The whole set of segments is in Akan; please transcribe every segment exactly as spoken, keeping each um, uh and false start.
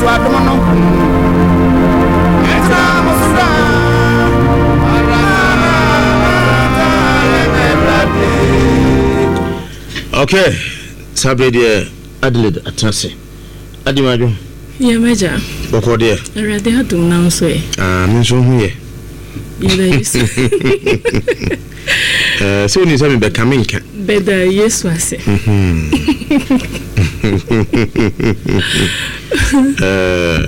Adom no ɛtena mo so daa. Maranatha, yɛn Awurade. Okay, saa berɛ deɛ Adelaide atena ase ade madwo. Yɛ mɛgya. Bɔkɔ deɛ? Awurade adom, na nso ɛ? Ah, me nso ho yɛ. Yɛda Yesu. Eh, sɛ wonim sɛ mebɛka menka. Bɛda Yesu ase. Mhm. Eh,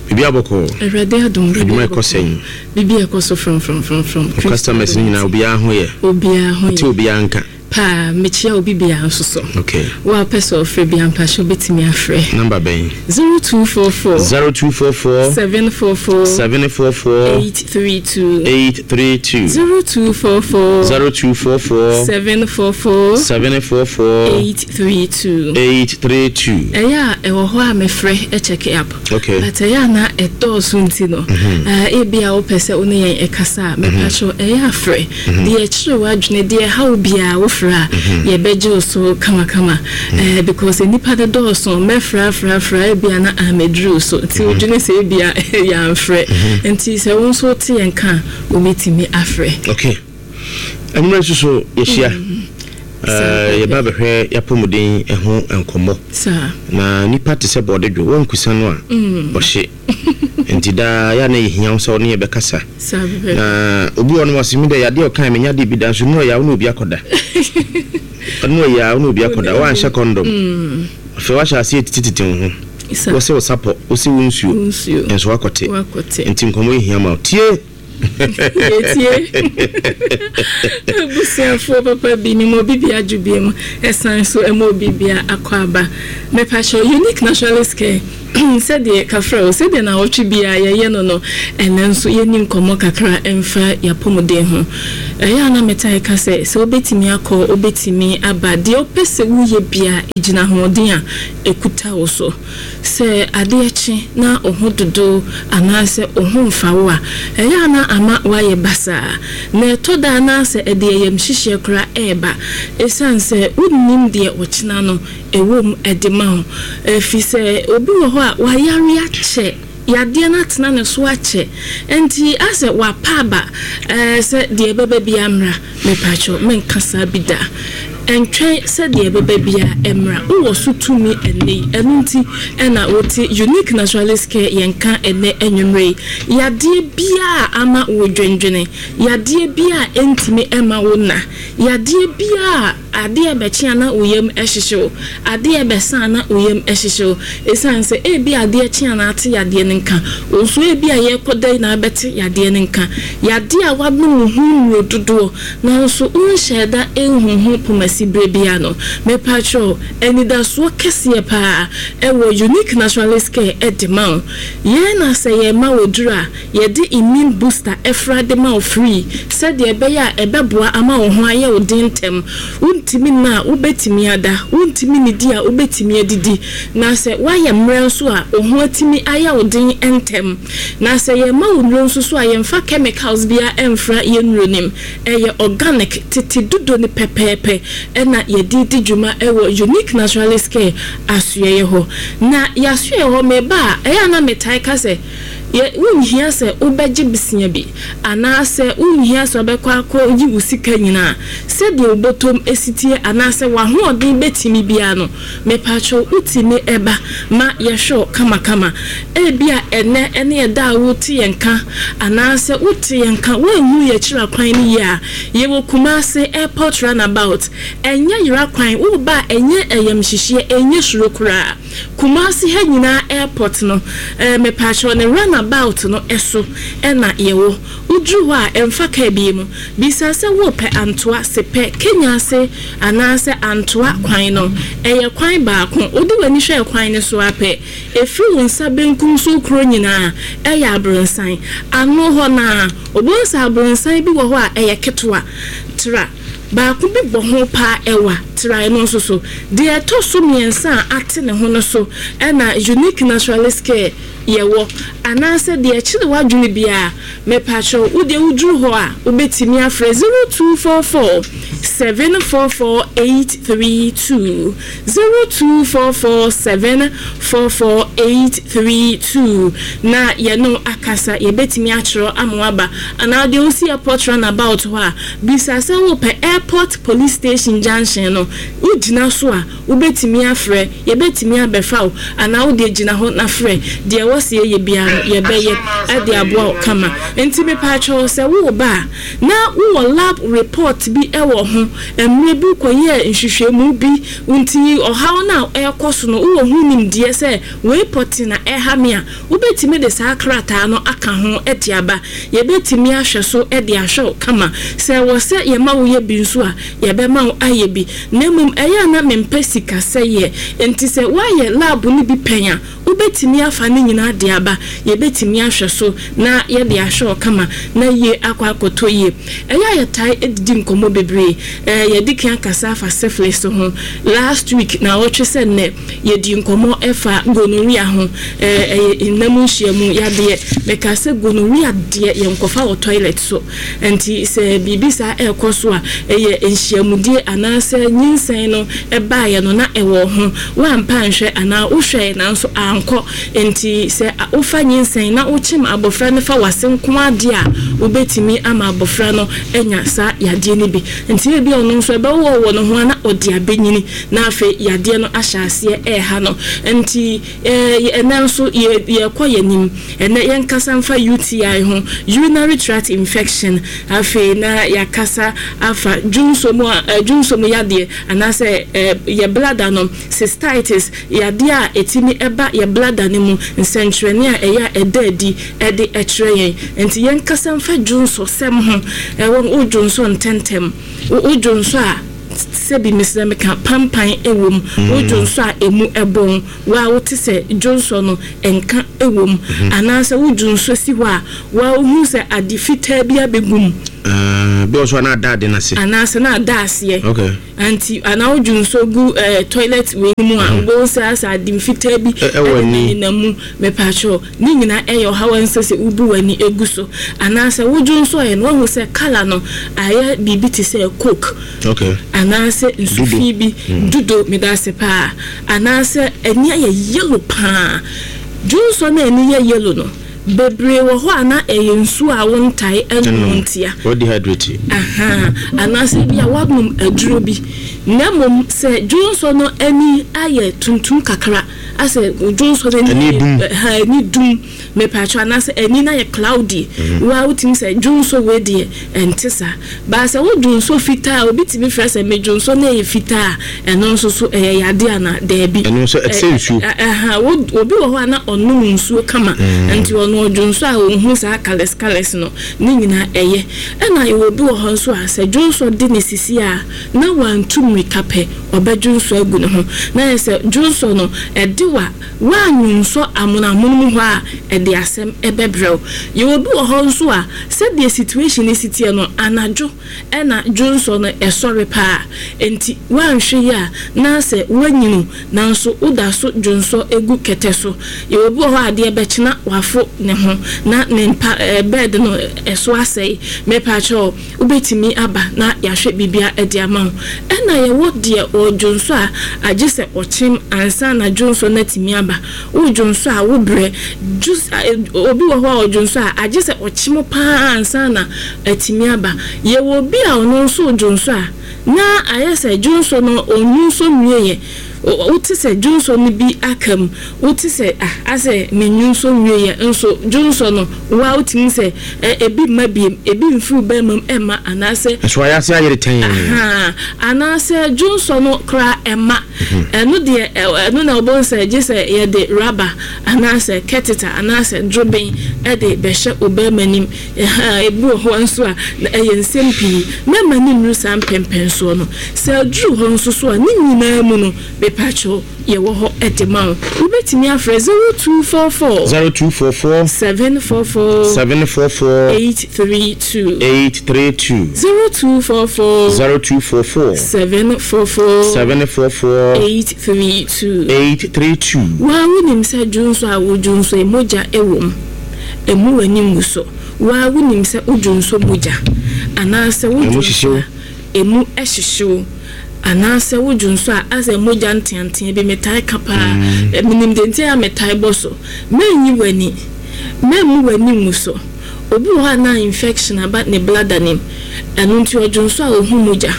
biribi abɔkɔ? Awurade adom. Adwuma ɛkɔ sɛn? Biribi ɛkɔ so frɔmfrɔmfrɔmfrɔm. Wo customers no nyinaa, obiara ho yɛ? Obiara ho te yɛ. Obiara nka. Paa, mekyia obi biara nso so. Okay wo a wopɛ sɛ ɔfrɛ bia, mpahyɛ wobɛtumi afrɛ. Number bɛn? zero two four four zero two four four seven four four seven four four eight three two. eight three two. zero two four four zero two four four seven four four seven four four eight three two. eight three two. Ɛyɛ a ɛwɔ hɔ a mefrɛ ɛcheck up, okay but ɛyɛ a na ɛdɔɔso nti no, eh, ebi a wopɛ sɛ wo ne yɛn ɛkasa a, mepakyɛw, ɛyɛ afrɛ deɛ ɛkyerɛ w'adwene, deɛ ɛha wo biara, wofrɛ a yɛbɛgye wo so kamakama, Eh, because nnipa de dɔɔso, mɛfrɛ afrɛ afrɛ, ebi a na amɛduru so, nti wodwene sɛ ebi a yɛamfrɛ. Nti sɛ wo nso wote yɛn ka a, wobɛtumi afrɛ. Okay, anwummerɛ nso so yɛhyia. Eh, yɛba bɛhwɛ yɛapɔmuden ho nkɔmmɔ. Saa. Na nipa te sɛ bɔɔde dwo wɔnkusa no a ɔhye, nti daa yɛ a na yɛhia wo sɛ wo ne yɛbɛkasa. Saa bɛbɛ. Na obi wɔ no wase mi dɛ yadeɛ ɔkan menya de bi da nso nnura yɛ wo ne obi akɔda, ɔno yɛ a wo ne obi akɔda, woanhyɛ condom, afei woahyɛ aseɛ titititi wo ho. Saa. Wɔsɛ wo sapɔ, wosɛ wo nsuo. Wo nsuo. Nso woakɔte. Wakɔte. Nti nkɔmmɔ yi hia ma wo tie. Yɛtie abusuafoɔ papa bi ne ma obi bia adwo bie mu, ɛsan so ɛma obi bia akɔ aba. Mepakyɛw, Unique Naturalist Care, sɛdeɛ kafrɛ wo, sɛdeɛ nawɔtwe biara yɛyɛ no no ɛnɛ nso yɛni nkɔmmɔ kakra ɛmfa yɛapɔmuden ho. Ɛyɛ a na metae ka sɛ sɛ wobɛtumi akɔ, wobɛtumi aba, deɛ wopɛ sɛ woyɛ bia gyina ahoɔden a ɛkuta wo so. Sɛ adeɛ kye na wo ho dodo anaasɛ wo ho mfa wo a, ɛyɛ a na ama woayɛ basaa, na ɛtɔ da anaasɛ ɛde ɛyam hyehyeɛ koraa ɛɛba, ɛsiane sɛ wonnim deɛ ɔkyena no ɛwɔ mu ɛde ma wo. Ɛfiri sɛ obi wɔ hɔ a wayare akyɛ, yadeɛ no atena ne so akyɛ, nti asɛ wapa aba, ɛɛ sɛ deɛ ɛbɛba bi mmra. Mepakyɛw, menka saa bi da. Ɛntwɛn sɛ deɛ ɛbɛba bia mmra. Wowɔ so tumi ɛnɛ yi. Ɛno nti ɛna wote Unique Naturalist Care yɛnka ɛnɛ anwummerɛ yi. Yadeɛ biaa ama wo dwendwene, yadeɛ biaa ɛntumi ɛma wo na, yadeɛ biaa adeɛ bɛkye a na wo yam ɛhyehye wo, adeɛ bɛsa a na wo yam ɛhyehye wo, ɛsiane sɛ ebi adeɛ kye a na ate yadeɛ no nka wo nso, ebi a yɛrekɔ yi na abɛte yadeɛ no nka, yadeɛ a wanom wo ho nnuro dodoɔ nanso wonhyɛ da ɛnhu ho pomasi berɛ bia no, mepakyɛw, anidasoɔ kɛseɛ paa ɛwɔ Unique Naturalist Care ɛde ma wo. Yɛn na sɛ yɛma wɔ duro a yɛde immune booster ɛfra de ma wo free, sɛdeɛ ɛbɛyɛ a ɛbɛboa ama wo ho ayɛ wo den ntɛm. Wontumi nna a, wobɛtumi ada. Wontumi nidi a, wobɛtumi adidi. Na sɛ woayɛ mmerɛ nso a, wo ho atumi ayɛ wo den ntɛm. Na sɛ yɛma wo nnuro nso so a, yɛmfa chemicals biara ɛmfra yɛn nnuro nim. Ɛyɛ organic, tete dodo ne pɛpɛɛpɛ ɛna yɛde di dwuma ɛwɔ Unique Naturalist Care asoɛyɛ hɔ. Na yɛasoɛyɛ hɔ meba a, ɛyɛ a na metae ka sɛ yɛ wonhia sɛ wobɛgye besia bi anaasɛ wonhia sɛ wobɛkɔ akɔ yi wo sika nyinaa. Sɛdeɛ wobɔtɔm esitie anaasɛ w'ahoɔden bɛtumi biara no, mepakyɛw, wotumi ɛba ma yɛhwɛ wo kamakama. Ebi a ɛnɛ ɛne ɛda a wote yɛn ka anaasɛ wote yɛn ka woanhu yɛ akyiri akwan no yie a, yɛwɔ Kumase Airport roundabout. Ɛnyɛ yera kwan, woba a ɛnyɛ ɛyam hyehyeɛ, ɛnyɛ suro koraa. Kumase ha nyinaa airport no, ɛɛ mepakyɛw, ne roundabout no ɛso ɛna yɛwɔ. Woduru hɔ a, ɛmfa kaa bi mu bisa sɛ wopɛ Antoa Sepɛ Kenya ase anaasɛ Antoa kwan no. Ɛyɛ kwan baako. Wode w'ani hwɛ kwan no so apɛ, ɛfiri wo nsa benkum so kuro nyinaa ɛyɛ abrɔnsan ano hɔ naa. Wobɛhu sɛ abrɔnsan bi wɔ hɔ a ɛyɛ ketewa tra. Baako bi bɔ ho paa ɛwa trae no nso so. Deɛ ɛtɔ so mmiɛnsa a ate ne ho no so ɛna Unique Naturalist Care yɛwɔ, anaasɛ deɛ ɛkyerɛ w'adwene biara, mepatwɛ wo deɛ woduru hɔ a, wobɛtumi afrɛ zero two four four seven four four eight three two, zero two four four seven four four eight three two, na yɛno akasa. Yɛbɛtumi akyerɛ ama waba, anaa deɛ wosi Airport Roundabout hɔ a, bisa sɛ wopɛ Airport Police Station junction no. Wogyina so a, wobɛtumi afrɛ, yɛbɛtumi abɛfa wo, anaa wode gyina hɔ na frɛ. Deɛ ɛwɔ sɛ yɛyɛ biara no, yɛbɛyɛ ɛde aboa wo kama. Nti mepatwɛw, sɛ wowɔ ba a na wowɔ lab report bi ɛwɔ ho, mmerɛ bi kɔyɛɛ nhwehwɛmu bi, nti ɔhaw no a ɛrekɔ so no, wowɔ ho nimdeɛ sɛ wei pɔte na ɛha me a, wobɛtumi de saa krataa no aka ho de aba. Yɛbɛtumi ahwɛ so de ahwɛ wo kama. Sɛ wɔ sɛ yɛma wo yɛ bi nso a, yɛbɛma wo ayɛ bi. Na mmom ɛyɛ a na mempɛ sika sɛyɛ, nti sɛ woayɛ lab no bi pɛn a, wobɛtumi afa ne nyinaa de aba. Yɛbɛtumi ahwɛ so na yɛde ahwɛ wo kama na yie akɔ akɔtɔ yie. Ɛyɛ a yɛtae didi nkɔmmɔ bebree. ɛɛ yɛde kan akasa afa syphilis ho last week na wɔtwe sɛ nnɛ yɛdi nkɔmmɔ ɛfa gonorrhea ho. ɛɛ ɛyɛ nnam nhyiamu yadeɛ. Mɛka sɛ gonorrhea deɛ, yɛnkɔfa wɔ toilet so. Nti sɛ biribi saa ɛrekɔ so a, ɛyɛ nhyiamudie anaasɛ nyinsɛn no ɛbaeɛ no na ɛwɔ ho, woampa nhwɛ anaa wohwɛ nanso ankɔ. Nti sɛ wofa nyinsɛn na wokyem abɔfra no fa wase nko adeɛ a, wobɛtumi ama abɔfra no anya saa yadeɛ no bi. Nti ebi a ɔno nso ɛbɛwɔ wɔ ne ho a na ɔde abɛnyini na afei yadeɛ no ahyɛ aseɛ ɛɛha no. Nti ɛɛ ɛnɛ nso yɛ yɛkɔ yɛn anim. Ɛnɛ yɛnkasa mfa U T I ho, urinary tract infection. Afei na yɛakasa afa dwonso mu a ɛɛ dwonso mu yadeɛ anaasɛ ɛɛ yɛ bladder no, cystitis, yadeɛ a ɛtumi ɛba yɛ bladder no mu, nsɛnkyerɛnne a ɛyɛ a ɛda adi ɛde ɛkyerɛ yɛn. Nti yɛnkasa mfa dwonso sɛm ho. Ɛwɔ wo dwonso ntɛntɛm, wo dwonso a sɛbi mesrɛ meka pampan ɛwɔ mu, wo dwonso a emu ɛbɔn, wa wote sɛ dwonso no nka ɛwɔ mu, anaasɛ wo dwonso si hɔ a, wa wohu sɛ ade fitaa bi abɛgu mu. Bi wɔ so a na ada ade n'ase. Anaasɛ na ada aseɛ. Okay nti anaa wo dwonso gu ɛɛ toilet wei mu a, wobɛhu sɛ asɛ ade fitaa bi Ɛ- ɛwɔ ani. Nenam mu. Mepatwɛ, ne nyinaa ɛyɛ ɔhaw a ɛnsɛ sɛ wobu w'ani egu so. Anaasɛ wo dwonso yɛ no, wahu sɛ colour no ayɛ biribi te sɛ Coke okay anaasɛ nsufi bi dudo, meda ase paa, anaasɛ ani ayɛ yellow paa. Dwonso no ani yɛ yellow no, bebree wɔ hɔ a na ɛyɛ nsuo a wontae ɛnom ntia. Wɔ dehydrate. Aha, anaasɛ bi a woanom aduro bi. Na mmom sɛ dwonso no ani ayɛ tuntum kakra, asɛ dwonso no Ani dum. Ha, ani dum, mepatwɛ, anaasɛ ani no ayɛ cloudy, wa wotumi sɛ dwonso wei deɛ ɛnte saa. Baa sɛ wo dwonso fitaa a, obi tumi frɛ sɛ me dwonso no yɛ fitaa a, ɛno nso so ɛyɛ yade ana? Daabi. Ɛno nso ɛte sɛ nsuo. Ɛ- ɛ- ɛha wo- obi wɔ hɔ a na ɔnom nsuo kama, nti ɔno ɔdwonso a ɔnhu saa colours colours no ne nyinaa ɛyɛ. Ɛna yɛwɔ obi wɔ hɔ nso a sɛ dwonso de ne sisi a na wantu mmirika pɛ, ɔbɛdwonso agu ne ho. Na yɛ sɛ dwonso no ɛde wa woanwonsɔ amonamono mu hɔ a, ɛde asɛm ɛbɛbrɛw. Yɛwɔ obi wɔ hɔ nso a sɛdeɛ situation no si teɛ no, anadwo ɛna dwonso no ɛsɔre paa. Nti woanhwɛ yi a, na sɛ woanyinu nanso woda so dwonso egu kɛtɛ so. Yɛwɔ bi wɔ hɔ a adeɛ bɛkyena wafo ne ho na ne mpa ɛɛ bed no ɛso asɛe. Mepaakyɛw, wobɛtumi aba na yɛahwɛ biribia ɛde ama wo. Ɛna yɛwɔ deɛ ɔdwonso a agye sɛ ɔkyem ansa na dwonso no atumi aba. Wodwonso a wobrɛ jus obi wɔ hɔ a ɔdwonso a agye sɛ ɔkyem paa ansa na atumi aba. Yɛwɔ obi a ɔno nso dwonso a na ayɛ sɛ dwonso no ɔnwu nso nwie yɛ, wote sɛ dwonso no bi aka mu, wote sɛ ah, asɛ menwu nso nwie yɛ nso dwonso no wa wotumi sɛ ɛ ebi mma biem, ebi mfiri bɛrima mu ɛma anaasɛ Nso ayɛ ase ayere tɛn. Aha, anaasɛ dwonso no koraa ɛma ɛno deɛ, ɛno na ɔbɛn sɛ gye sɛ yɛde rubber anaasɛ catheter anaasɛ droben ɛde bɛhyɛ ɔbɛrima nim. Ɛha ebi wɔ hɔ nso a na ɛyɛ nsɛm pii. Mɛma ne nnuru saa mpɛmpɛnsoɔ no. Sɛ aduru hɔ nso so a, ne nyinaa mu no mepɛ Mepatwo, yɛwɔ hɔ ɛde ma wo. Wobɛtumi afrɛ zero two four four zero two four four seven four four seven four four eight three two. eight three two. zero two four four zero two four four seven four four seven four four eight three two. eight three two. Waa, wonim sɛ dwonso a wodwonso yi, mogya ɛwɔ mu, ɛmu w'ani ngu so. Waa, wonim sɛ wodwonso mogya anaasɛ Ɛmu wodwonso hyehyew. a ɛmu ɛhyehyew, anaasɛ wodwonso a asɛ mogya nteantea bi. Metae ka paa. Ɛ, menim de nti a metae bɔ so. Mɛnyi w'ani, mɛmmu w'ani ngu so. Obi wɔ hɔ a na infection aba ne bladder nim, ɛno nti ɔdwonso a ohu mogya,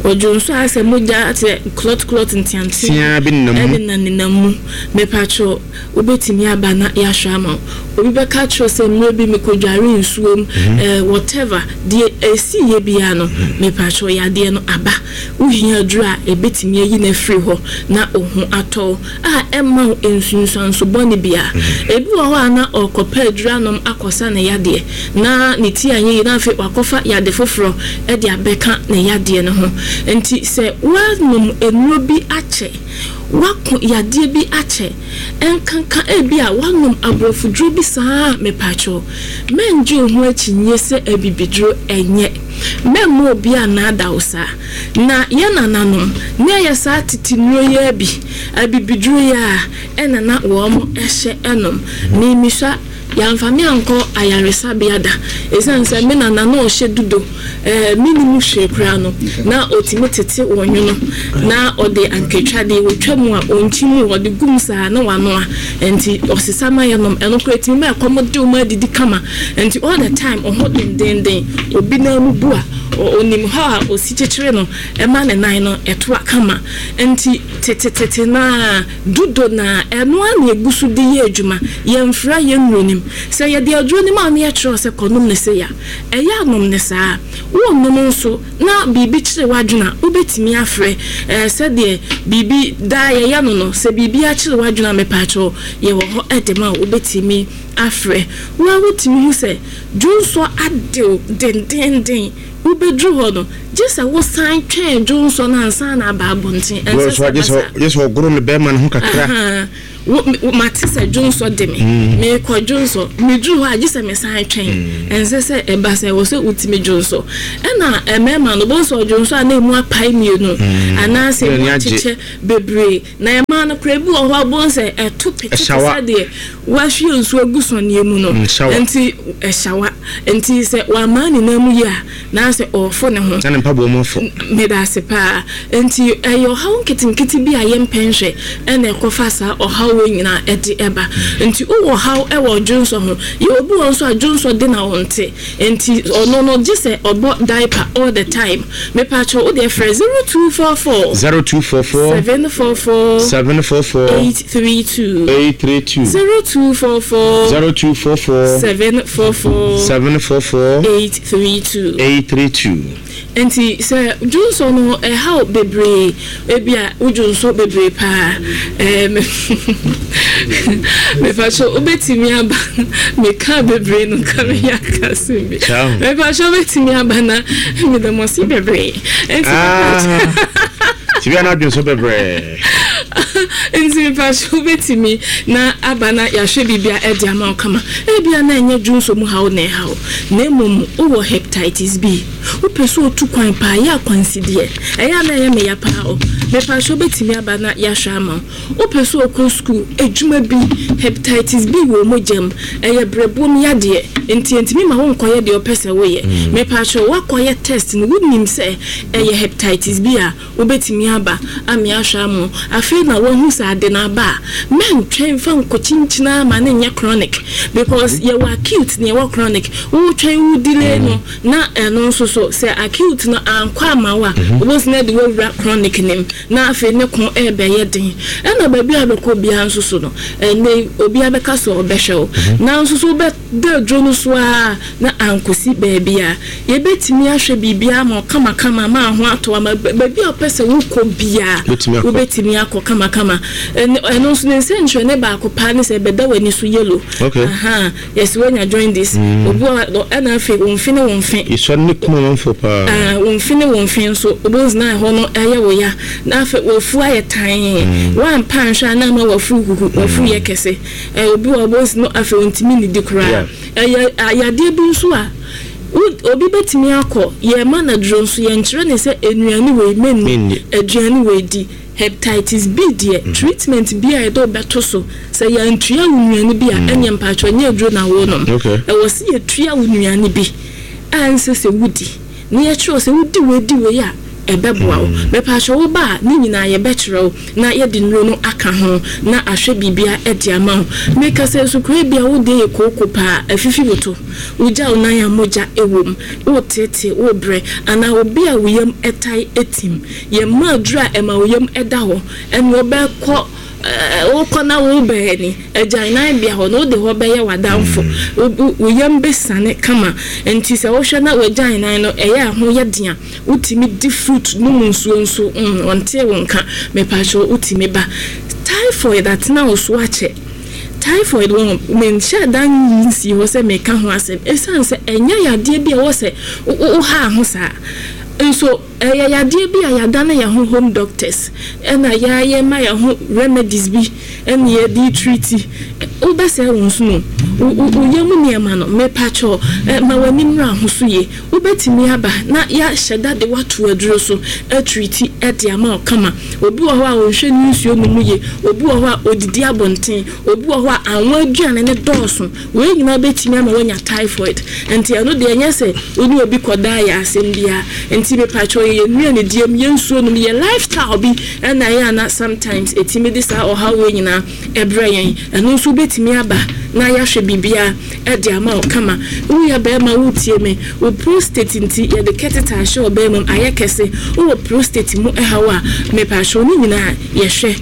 ɔdwonso a asɛ mogya asɛ clot clot nteantea Tea bi nenam mu. Ɛne na nenam mu. Mepatwo, wobɛtumi aba na yɛahwɛ ama wo. Obi bɛka kyerɛ sɛ mmerɛ bi mekɔdware nsuom, eh, whatever deɛ ɛsi yɛ biara no, mepatwo, yadeɛ no aba, wohia aduru a ɛbɛtumi ayi no afiri hɔ na wo ho atɔ wo a ɛma wo nsunsuanso bɔne bia. Ebi wɔ hɔ a na ɔkɔpɛ aduru anom akɔsa ne yadeɛ na ne ti anyɛ yie, na afei wakɔfa yade foforɔ ɛde abɛka ne yadeɛ no ho. Nti sɛ woanom nnuro bi akyɛ, wako yadeɛ bi akyɛ, ɛnkanka ebi a wanom aborɔfoduro bi saa, mepatwo, mɛngye wo ho akyinnye sɛ abibiduro ɛnyɛ. Mɛmma obi a naada wo saa. Na yɛn nananom ne ɛyɛ saa tete nnuro yi bi, abibiduro yi a ɛna na wɔn ɛhyɛ ɛnom. Mimisua yɛamfa me ankɔ ayaresabea da, ɛsiane sɛ me nana na ɔhyɛ dudo ɛɛ menim hwee koraa no, na ɔtumi tete wɔn nwono na ɔde ankatwadeɛ wɔtwa mu a ɔnkyi mu, ɔde gum saa na wanoa. Nti ɔsesa ma yɛnom. Ɛno koraa ɛtumi ma ɛkɔm de wɔn adidi kama. Nti all the time ɔho dendenden, obi nan mu bu a ɔnim hɔ a ɔsi kyekyere no ɛma ne nan no ɛtoa kama. Nti tetetete naa dudo na ɛno a na egu so de yɛ adwuma. Yɛmfra yɛn nnuro nim sɛ yɛde aduro nim a ne yɛkyerɛw sɛ kɔnom ne se ya ɛyɛ anom ne saa. Wɔnnom nso na biribi kyerɛ w'adwene a, wobɛtumi afrɛ ɛɛ sɛdeɛ biribi daa yɛyɛ no no sɛ biribi akyerɛ w'adwene a, mepaakyɛw, yɛwɔ hɔ ɛde ma a wobɛtumi afrɛ. Wo a wotumi hu sɛ dwonsɔ adew dendenden, wobɛduru hɔ no gye sɛ wosan twɛn dwonsɔ no ansa na aba abɔnten. Ɛnsɛ sɛ gye sɛ ɔgoro ne bɛrima no ho kakra. Mate sɛ dwonsɔ de me, mm. meekɔ dwonsɔ, meduru hɔ a gye sɛ mesan twɛn. mm. Ɛnsɛ sɛ ɛba sɛ ɛwɔ sɛ wotumi dwonsɔ. Ɛna mmarima no bɔnsɔ dwonsɔ a na emu apae mmienu mm. anaasɛ emu akyekyɛ bebree. Na ɛmaa no koraa bi wɔ hɔ a bɔn sɛ ɛto pete te sɛ deɛ wahwie nsuo agu sɔneɛ mu no. Nti ɛhyawa. Nti sɛ wamaa ne nan mu yi a, na sɛ ɔɔfo ne ho na ne mpaboa mu afɔ. Meda ase paa. Nti ɛyɛ ɔhaw nketenkete bi a yɛmpɛ nhwɛ ɛna ɛkɔfa saa ɔhaw wɔ nyinaa ɛde ɛba. Nti wowɔ ɔhaw ɛwɔ dwonsɔ ho. Yɛ obi wɔ nso a dwonsɔ de na ɔnte, nti ɔno no gye sɛ ɔbɔ diaper all the time. Mepatwɛ, wo deɛ frɛ zero two four four zero two four four seven four four seven four four eight three two. eight three two. zero two four four zero two four four seven four four seven four four eight three two. eight three two. Nti sɛ dwonsɔ no ɛhaw bebree, ebi a wodwonsɔ bebree paa, ɛɛm mepatwɛ, wobɛtumi aba. Meka bebree no ka meyɛ akase bi. Mepatwɛ, wobɛtumi aba na meda mo ase bebree. Nti Tibi ana dwonsɔ bebree. Nti mepatwɛ, wobɛtumi na aba na yɛahwɛ biribi a ɛde ama wo kama. Ebia na ɛnyɛ dwonsɔ mu haw na ɛhaw, na mmom wowɔ hepatitis B, wopɛ sɛ otu kwan paa, yɛ akwansideɛ, ɛyɛ a na ɛyɛ meya paa o. Mepatwɛ, wobɛtumi aba na yɛahwɛ ama wo. Wopɛ sɛ okɔ sukuu, adwuma bi, hepatitis B wɔ mogya mu, ɛyɛ brɛboom yadeɛ, nti ntumi ma wonkɔyɛ deɛ ɔpɛ sɛ woyɛ. Mepatwɛ, woakɔyɛ test no, wonim sɛ ɛyɛ hepatitis B a, wobɛtumi aba ame ahwɛ ama wo. Afei na woahu sɛ ade no aba a, mɛntwɛn fa nkɔkyinkyina ama ne nyɛ chronic, because yɛwɔ acute na yɛwɔ chronic. Wotwɛn, wo delay no, na ɛno nso so sɛ acute no ankɔ ama wo a, wobɛsi na de woawura chronic nim na afei ne ko ɛbɛyɛ den. Ɛna baabi a bɛkɔ biara nso so no, ɛnɛ obiara bɛka sɛ ɔbɛhwɛ wo, na nso so wobɛda aduro no so a na ankɔsi baabi a yɛbɛtumi ahwɛ biribiara ma kamakama ma ho atɔ ama baabi a wopɛ sɛ wokɔ biara, wobɛtumi akɔ kamakama. Ɛno nso ne nsɛnkyerɛnne baako paa ne sɛ ɛbɛda w'ani so yellow. Yɛsɛ woanya jaundice. Obi wɔ ɛna afei wo mfe ne wo mfe Yɛsɔ ne kuma. Amanfoɔ paa. Ah, wo mfe ne wo mfe nso wobɛhu na ɛhɔ no ɛyɛ wo ya, na afei wafu ayɛ tan. Woampa nhwɛ a, na ama wafu huhu, wafu yɛ kɛse. Ɛ, obi wɔ wobɛhu no, afei ɔntumi nnidi koraa. Ɛyɛ yadeɛ bi nso a wo- obi bɛtumi akɔ yɛma no aduro nso, yɛnkyerɛ ne sɛ nnuane wei menni, Menni. Aduane wei di. Hepatitis B deɛ, treatment bi a yɛde wobɛto so, sɛ yɛntua wo nnuane bi a, ɛnyɛ mpakyɛ, nyɛ aduro na wonom. Okay. Ɛwɔ sɛ yɛtua wo nnuane bi a ɛnsɛ sɛ wodi, na yɛkyerɛ wo sɛ wodi wei, di wei a ɛbɛboa wo. Mepaakyɛ, wo ba a, ne nyinaa yɛbɛkyerɛ wo na yɛde nnuro no aka ho na ahwɛ biribia ɛde ama wo. Meka sɛ sukuu bi a wode yɛ kooko paa, afifi wo to, wogya wo nan a mogya ɛwɔ mu, wotete wo brɛ, anaa obi a wo yam ɛtae ɛtim, yɛma aduro a ɛma wo yam ɛda hɔ, ɛne wɔbɛkɔ ɛɛ, wokɔ na wobɛɛ ni agyan bea hɔ na wode hɔ bɛyɛ w'adamfo. Wo- wo wo yam bɛsane kama. Nti sɛ wohwɛ na wagyan nan no ɛyɛ a ho yɛ den a, wotumi di fruit, nom nsuo nso, mm, ɔntee wo nka. Mepaakyɛw, wotumi ba. Typhoid atena wo so akyɛ, typhoid wɔn menhyɛ dan nsi hɔ sɛ meka ho asɛm, ɛsiane sɛ ɛnyɛ yadeɛ bi a ɛwɔ sɛ wo- wo- wohaa ho saa nso. Ɛyɛ yadeɛ bi a yɛadane yɛn ho home doctors, ɛna yɛayɛ ma yɛn ho remedies bi ɛna yɛde treat. Wobɛsɛe wo nso no, wo wo- wo yam nneɛma no. Mepakyɛw, ɛ, ma w'ani mmra ho so yie. Wobɛtumi aba na yɛahyɛ da de woato aduro so atreat ɛde ama wo kama. Obi wɔ hɔ a ɔnhwɛ ne nsuo no mu yie, obi wɔ hɔ a odidi abɔnten, obi wɔ hɔ a anwa aduane ne dɔɔso. Wei nyinaa bɛtumi ama woanya typhoid. Nti ɛno deɛ, ɛnyɛ sɛ wo ne obi kɔdaa yɛ asɛm biara. Nti mepakyɛw, yɛ nnuane die mu, yɛ nsuo nom, yɛ lifestyle bi ɛna ɛyɛ ana sometimes ɛtumi de saa ɔhaw wei nyinaa ɛbrɛ yɛn. Ɛno nso wobɛtumi aba na yɛahwɛ biribiara ɛde ama wo kama. Woyɛ bɛrima, wotie me, wo prostate nti yɛde catheter ahyɛ ɔbɛrima mu ayɛ kɛse, wowɔ prostate mu ɛhaw a, mepakyɛw, ne nyinaa yɛhwɛ.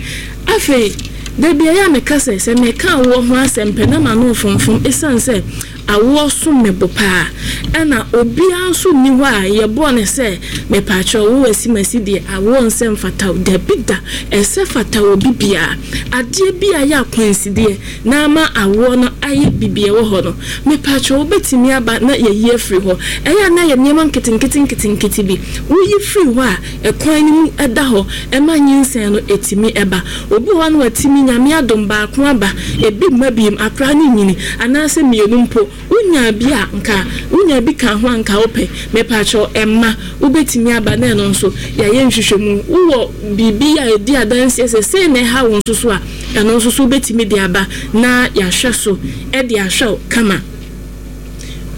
Afei dabi ɛyɛ a meka sɛ sɛ meka awoɔ ho asɛm pɛ na ma no mfomfom, ɛsiane sɛ awoɔ som me bo paa, ɛna obiara nso nni hɔ a yɛbɔɔ ne sɛ mepaakyɛw, wo asimasi deɛ awoɔ nsɛ mfata wo. Dabi da, ɛsɛ fata wɔ bibiara. Adeɛ bi a yɛ akwansideɛ na ama awoɔ no ayɛ bibia wɔ hɔ no, mepaakyɛw, wobɛtumi aba na yɛyi afiri hɔ. Ɛyɛ a na yɛ nneɛma nketenkete nketenkete bi woyi firi hɔ a, ɛkwan no mu ɛda hɔ ɛma nyinsɛn no ɛtumi ɛba. Obi wɔ hɔ no, watumi, Nyame adom, baako aba, ebi mma biem, akora no nyini, anaasɛ mmienu mpo wonya bi a, nka wonya bi ka ho a nka wopɛ. Mepaakyɛw, ɛma wobɛtumi aba na ɛno nso yɛayɛ nhwehwɛmu. Wowɔ biribi a ɛdi adanseɛ sɛ sei na ɛha wo nso so a, ɛno nso so wobɛtumi de aba na yɛahwɛ so ɛde ahwɛ wo kama.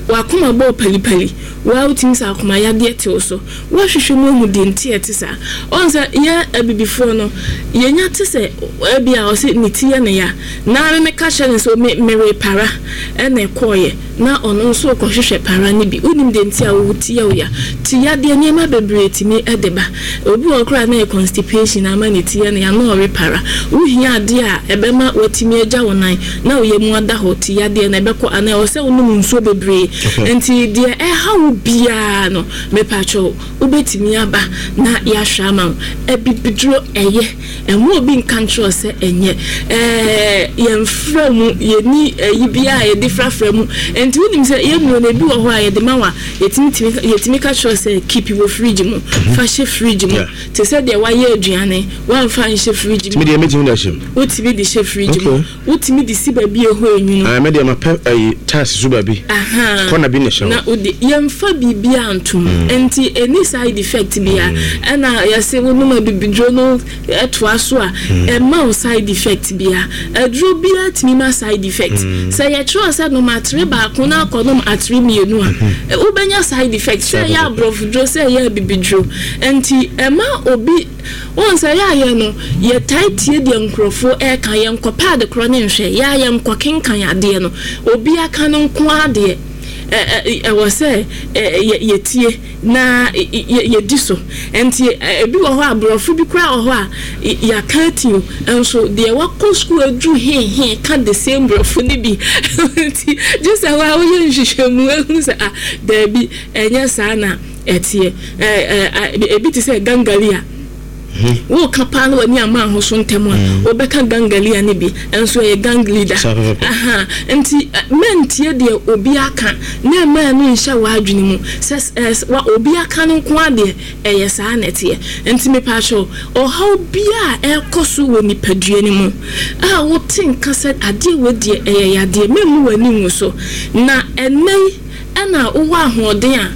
Wakoma bɔɔ palipali, waa wotumi sɛ akoma yadeɛ te wo so, woahwehwɛ mu ahu deɛ nti ɛte saa. Ɔn sɛ yɛ abibifoɔ no, yɛnya te sɛ ebi a ɔsɛ ne ti yɛ ne ya, na me meka kyerɛ ne sɛ me mere para ɛna ɛkɔɔyɛ, na ɔno nso kɔhwehwɛ para no bi. Wonim deɛ nti a wo ti yɛ wo ya. Ti yadeɛ, nneɛma bebree tumi ɛde ba. Obi wɔ koraa na yɛ constipation ama ne ti yɛ ne ya na ɔre para. Wohia adeɛ a ɛbɛma watumi agya wo nan na woyɛ mu ada hɔ, ti yadeɛ na ɛbɛkɔ, anaa ɛwɔ sɛ wonom nsuo bebree. Nti deɛ ɛha wo biara no, mepatwɛw, wobɛtumi aba na yɛahwɛ ama wo. Abibiduro ɛyɛ, ɛmo obi nka nkyerɛ sɛ ɛnyɛ ɛɛ yɛmfrɛ mu, yɛni ɛyi biara a yɛde frafra mu. Nti wonim sɛ yɛnnuro no, ebi wɔ hɔ a yɛde ma wa, yɛtumi tumi yɛtumi ka kyerɛ sɛ keep wɔ fridge mu, fa hyɛ fridge mu, te sɛ deɛ wayɛ aduane wamfa nhyɛ fridge mu. Mi deɛ, mɛtumi de ahyɛ mu. Wotumi de hyɛ fridge mu, wotumi de si baabi ɛhɔ enwunu. Ah, mɛ deɛ, ma pɛ ɛyi tiles so baabi kɔna bi na ɛhyɛ hɔ. Na wode yɛmfa biribiara ntom, nti ɛni side effect bia. Ɛna yɛsɛ wonom abibiduro no ɛtoa so a, ɛma wo side effect bia. Aduro biara tumi ma side effect. Sɛ yɛkyerɛ sɛ nom atere baako na akɔnom atere mmienu a, wobɛnya side effect, sɛ ɛyɛ aborɔfoduro, sɛ ɛyɛ abibiduro. Nti ɛma obi wɔn sɛ yɛ ayɛ no, yɛtae tie deɛ nkurɔfoɔ ɛreka, yɛnkɔpɛ ade korɔ ne nhwɛ, yɛ a yɛnkɔ kenkan adeɛ no, obi aka no nko adeɛ ɛwɔ sɛ yɛtie na yɛdi so. Nti ebi wɔ hɔ a aborɔfo bi koraa wɔ hɔ a yɛaka ati nso deɛ wakɔ sukuu aduru hehe ka the same borɔfo no bi. Nti gye sɛ hɔ a woyɛ nhwehwɛmu ehu sɛ, ah, daabi, ɛnyɛ saa na ɛteɛ. Ebi te sɛ gangalia. Wo ka pa no wani ama ho so ntem a obeka gangalia ne bi enso ye gang leader. Aha, nti mentie de obi aka na ma no nhye wa adwene mu ses wa obi aka no nko ade eye saa netie. Nti me pa cho ohaw bia e koso wo nipadua ni mu a wo tinka sɛ ade we de eye yade memu wani ngu so na enei ena wo ahoɔden a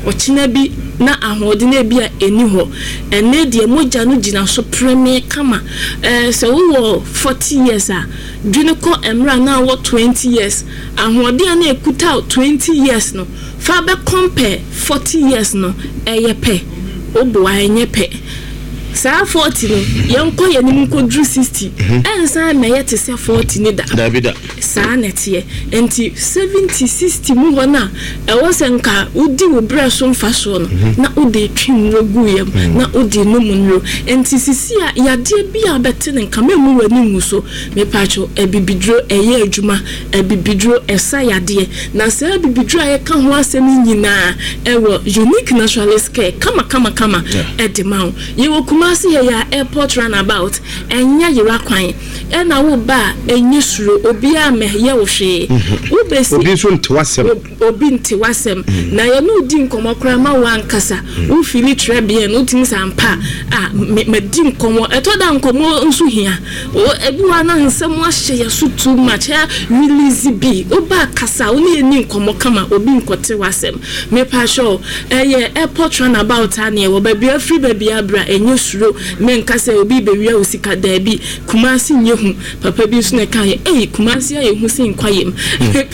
ɔkyena bi na ahoɔden na bi a eni hɔ ene de mogya no gina so preme kama. Eh sɛ wo forty years a dwene kɔ emra na wo twenty years ahoɔden na ekuta twenty years no fa be compare forty years no eye pe obo enye pe saa forty no yenko yenim nkodru sixty ensan na ye te se forty ni da da saa netie enti seventy sixty mu ho na e wo se nka udi wo breso mfa so no na udi twi nro guyem na udi num nro enti sisi a yade bia bete ne nka memu wani ngu so me pacho ebibidro eye adwuma ebibidro esa yade na saa ebibidro a ye ka ho asem nyina e wo Unique Naturalist Care kama kama kama edema ye wo Kumasi ya airport runabout enya yira kwan e na wo ba enye suro obi a me ye wo hwe wo besi obi so nte wasem obi nte wasem na ye no di nkomo kra ma wo ankasa wo fili tre bien no tin sampa a me di nkomo eto da nkomo nso hia ebi wa na nsem ahye ye so too much release bi oba kasa wo ne ni nkomo kama obi nkote wasem me pa sure eh airport runabout a ne wo ba bi afri ba bi abra enye suro me nka se obi bewia osika da bi Kumasi nyehu papa bi so na kan ye eh Kumasi aye hu sin kwayem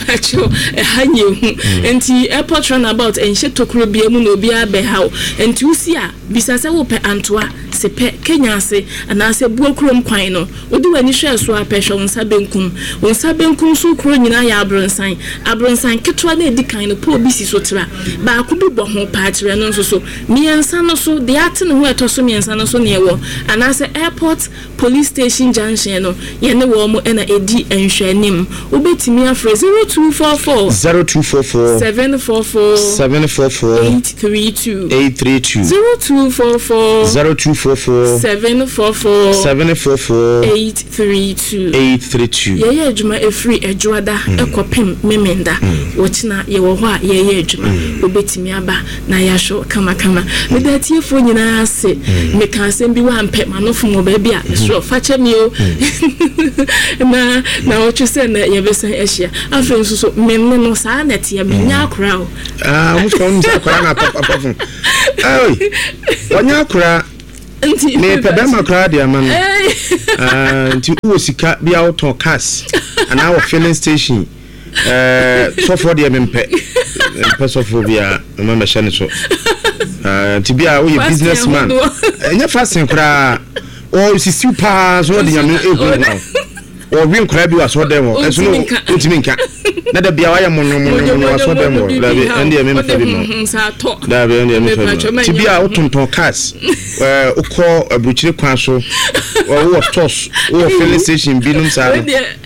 pacho e ha nyehu enti airport runabout enhye tokuro bia mu na obi abehaw enti usi a bisa se wo pe antoa se pe Kenya ase ana se buokrom kwan no odi wani hwe so apehwe wonsa benkum wonsa benkum so kuro nyina ya abronsan abronsan ketewa na edi kan no po obi si so tra ba ko bi bo ho pa kire no nso so miensa no so de ate ne ho eto so miensa no so ne ewo ana se airport police station junction no ye ne wo mo na edi enhwanim obetimi afre zero two four four zero two four four seven four four seven four four eight three two eight three two zero two four four zero two four four seven four four seven four four eight three two eight three two ye ye adwuma efri adwuada ekopem memenda wochina ye wo ho a ye ye adwuma obetimi aba na ya hwo kama kama me da tiefo nyina ase me ka asem bi wa mpe manofo mo ba bi a mesro fa che mi o na na wo se na ye besan ahia afa nso so memme no saa na tie me nya akora o ah mo fa mo akora na papa papa eh wanya akora nti me pebe makora de ama no ah nti wo sika bia wo ton cars ana wo filling station eh sofo de mempe mempe sofo bia me me hye ne so ah nti bia wo ye businessman enya fasting kra o sisi pa so de nyame ehu no o wi nkra bi wa so dem o eso no ntimi nka na da bia wa ye monyo monyo monyo wa so dem o da bi ende me mfa bi mo da bi ende me fa bi ti bia wo tonton cars eh ukọ aburuchire kwan so wo stores wo filling station bi num sa no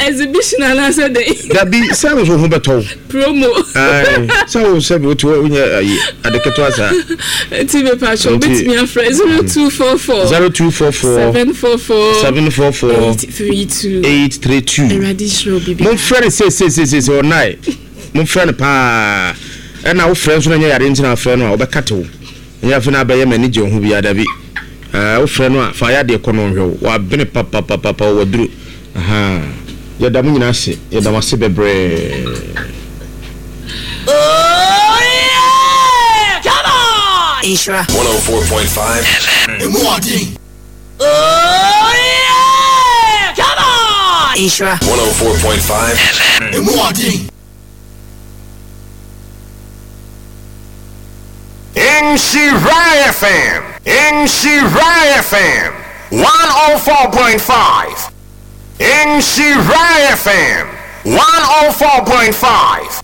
exhibition ana se de da bi sa wo ho beto promo eh sa wo se bi wo nya ayi adeketo asa ti be pa cho betimi afre zero two four four zero two four four seven four four seven four four eight three two eight three two mon frère se se se se se onai mon frère pa e na wo frère so na nya yare ntina frère no a obekate wo nya fe na ba ye mani je ho bia da bi eh wo frère no a fa ya de kono hwe wo abene papa papa papa wo duru aha ya da mu nyina ase ya da mase bebre. Oh yeah, come on. Isra one oh four point five F M. Oh yeah, come on. Isra one oh four point five F M. Nhyira F M, Nhyira F M, one oh four point five. Nhyira F M, one oh four point five.